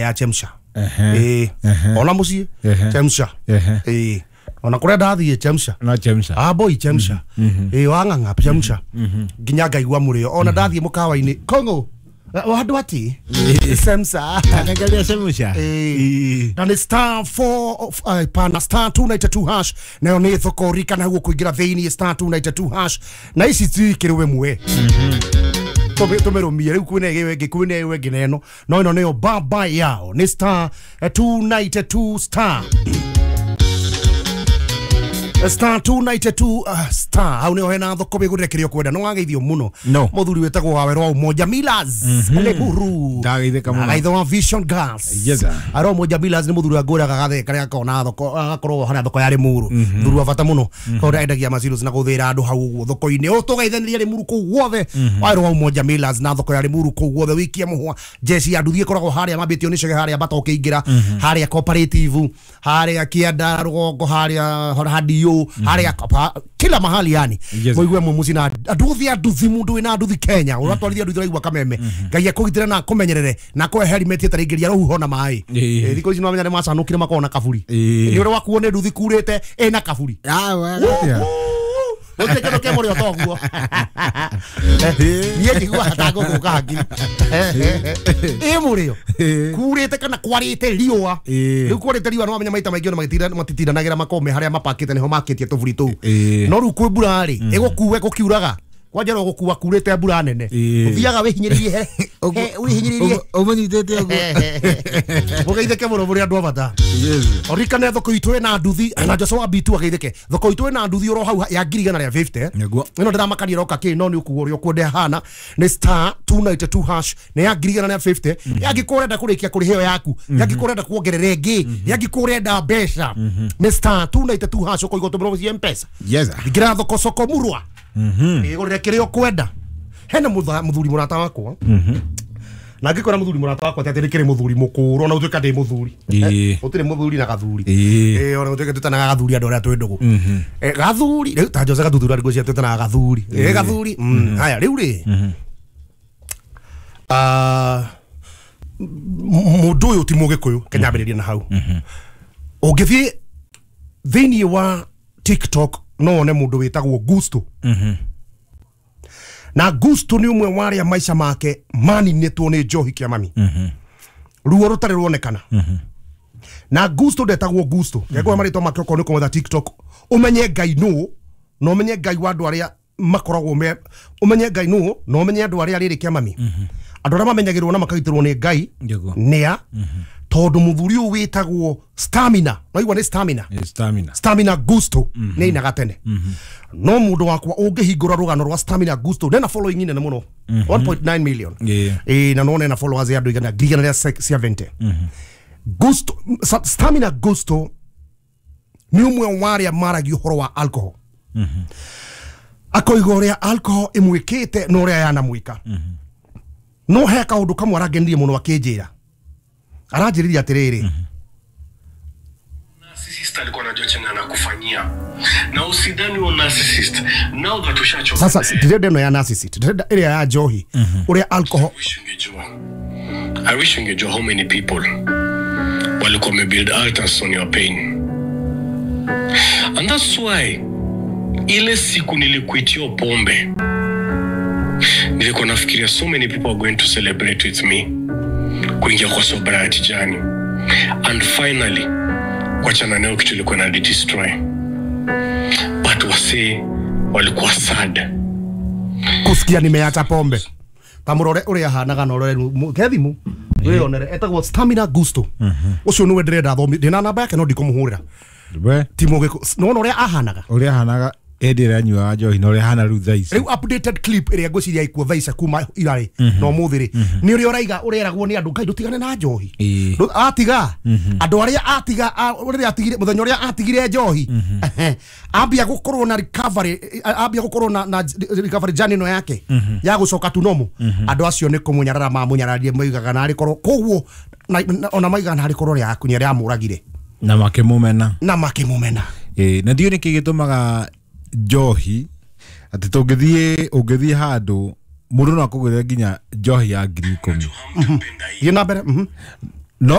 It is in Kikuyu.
Ya chemsha. Ona muciĩ chemsha. Ona kũrĩa ndathiĩ chemsha. No chemsha. Ah boy chemsha. Wang'ang'a chemsha. Nginya ngaigua mũrĩo. Ona ndathiĩ mũkawa-inĩ Kongo. Wandũ ati chemsha. Angalia chemsha. Na nĩ star 4 pana star 292 hash. Nayo nĩ thoko rika na guo kũingĩra thĩinĩ star 292 hash. Na ici cikĩrwe mwe. Tumerumie riu kwina ĩyo ĩngĩ kwina ĩyo ĩngĩ na ĩno no ĩno nĩyo baba yao nĩ star 292 star star 292 star hau nĩho hena thoko wĩgũrĩre kĩrĩa ũkwenda no wageithio mũno mũthuri wĩtagwo Wawerũ wa Umoja Millers Lemuru ndageithĩka mũno agaitho wa Vision Gas. Yes sir. Aro Umoja Millers nĩ mũthuri wa ngũraga gatheka karĩa akona thoko agakorwo harĩa thoko ya Limuru mũthuri wa bata mũno tondũ endagia maciros na gũthĩra andũ hau ũguo thoko-inĩ ũtũgeithanĩria Limuru kũu guothe. Wawerũ wa Umoja Millers na thoko ya Limuru kũu guothe wikie mũhwa jeshi ya nduthi ĩkoragwo harĩa mambĩtio nĩ cege harĩa bata ũkĩingĩra harĩa cooperative harĩa kĩanda rũgongo harĩa hadio harĩa kila mahali yani. Muigue mumuci na andu othe anduthi mundu wina anduthi Kenya uratwarithia anduthi uraigua kameme Ngai akugitire na akumenyerere na akũhe helmet ĩtarĩingĩria rũhuho na maĩ. Thikũ ici nĩwamenya nĩmacanũkire makorwo na kaburi nĩ ũrĩa wakuo nĩ nduthi kurĩte ĩna kaburi. Gũtirĩ kĩndũ kĩ mũrĩo toguo. Niĩ njiguaga ta ngũthũka hakiri. Ĩ mũrĩo kurĩte kana kwarĩte riũa. Rĩu kwarĩte riũa nĩwamenya maita maingĩ ona matitindanagĩra makome harĩa mapakĩte nĩho makĩtie tũburi tũu. No rĩu kwĩ mbura rĩ ĩgũkue gũkiuraga kwanja no gũkua kurĩte mbura nene ũthiaga wĩhinyĩrĩrie wĩhinyĩrĩrie ũmũnyitĩte ũguo. Mũgeithĩke mũno mũrĩ andũ a bata. Ũririkane thoko itũ ĩna nduthi na Joshua Bitu ageithĩke. Thoko itũ ĩna nduthi oro hau ya 1,150. Ĩno ndĩramakania ĩroka kĩ no nĩ ũkuo ũrĩa ũkwenda hana nĩ star 292 hash nĩ ya 1,150. Yangĩkorwo ũrenda kũrĩkia kũrĩha ĩyo yaku, yangĩkorwo ũrenda kuongerera ĩngĩ, yangĩkorwo ũrenda mbeca nĩ star 292 hash ũkũigua ũtũmĩrwo cia M-Pesa. Ingĩra thoko soko murwa. Ĩgũrĩre kĩrĩa ũkwenda. Hena mũthuri mũrata wakwa. Na ngĩkora mũthuri mũrata wakwa atĩ nĩkĩrĩ mũthuri mũkũrũ ona ũtuĩka ndĩ mũthuri. Gũtirĩ mũthuri na gathuri. Ona ũtuĩka twĩtanaga gathuri andũ arĩa twĩ ndũgũ. Gathuri rĩu ta Jose Gathuthura ngwĩciria twĩtanaga gathuri. Gathuri. Haya rĩu rĩ. Mũndũ ũyũ ti Mũgĩkũyũ kenyambĩrĩria na hau. Ũngĩthiĩ thĩinĩ wa TikTok no wone mũndũ wĩtagwo Gusto. Na Gusto nĩ ũmwe wa arĩa maica make maninĩtwo nĩ njohi kĩa mami. Ruo rũtarĩ ruonekana. Na Gusto ndetagwo Gusto. Ngekũhe marĩtwa make okorwo nĩ kũmwetha TikTok ũmenye Ngai nũ na ũmenye Ngai wa andũ arĩa makoragwo me ũmenye Ngai nũ na ũmenye andũ arĩa rĩrĩ kĩa mami. Andũ arĩa mamenyagĩrwo na makagitĩrwo nĩ Ngai nĩa tondũ mũthuri ũyũ wĩtagwo Stamina. Waigua nĩ Stamina. Stamina. Stamina Gusto nĩ ainaga tene. No mũndũ wakwa ũngĩhingũra rũgano rwa Stamina Gusto nena following nene mũno 1.9 million. Na no nena followers ya andũ igana 170. Gusto Stamina Gusto nĩ ũmwe wa arĩa maragia ũhoro wa alcohol. Akoiga ũrĩa alcohol ĩmwĩkĩte na ũrĩa yanamwĩka. No he kaũndũ kamwe arangenirie mũno akĩnjĩra. Aranjĩrĩria atĩrĩrĩ. Narcissist alikuwa anajua chenye anakufanyia. Na usidhani wa narcissist. Now that ushachoka. Sasa ndirenda ĩno ya narcissist, ndirenda ĩrĩa ya njohi, ũrĩa alcohol. I wish ungejua how many people walikuwa wamebuild altars on your pain. And that's why ile siku nilikuitia pombe, nilikuwa nafikiria so many people are going to celebrate with me kuingia kwa sobriety journey. And finally kuachana nayo kitu ilikuwa na destroy. But wase walikuwa sad kusikia nimeacha pombe. Tamurore uria hanaga na urore kethimu wionere etagwo Stamina Gusto. Ucio niwe ndirenda thomi ndina namba yake no ndikumuhurira. Ti mugiko no uria ahanaga. Uria ahanaga ĩndĩ ĩrĩa anyuaga njohi na ũrĩa ahana rĩu thaa ici. Rĩu updated clip ĩrĩa ngwĩciria ikuo thaa ici kuma irarĩ na ũmũthĩ rĩ nĩ ũrĩa ũraiga ũreragwo nĩ andũ Ngai ndũtigane na njohi. Atiga andũ arĩa atiga ũrĩa atigire mũthenya ũrĩa atigire njohi ambia gũkorwo na recovery ambia gũkorwo na recovery journey no yake ya gũcoka tu normal. Andũ acio nĩ kũmũnyarara mamũnyararire moigaga narĩ korwo koguo ona maigaga narĩ korwo rĩa akunya rĩa mũragire na makĩmũmena na makĩmũmena. Na ndiũĩ nĩkĩ gĩtũmaga njohi atĩ tũngĩthiĩ ũngĩthiĩ handũ mũndũ no akũgũrĩre nginya njohi ya 10,000. Thiĩ na mbere.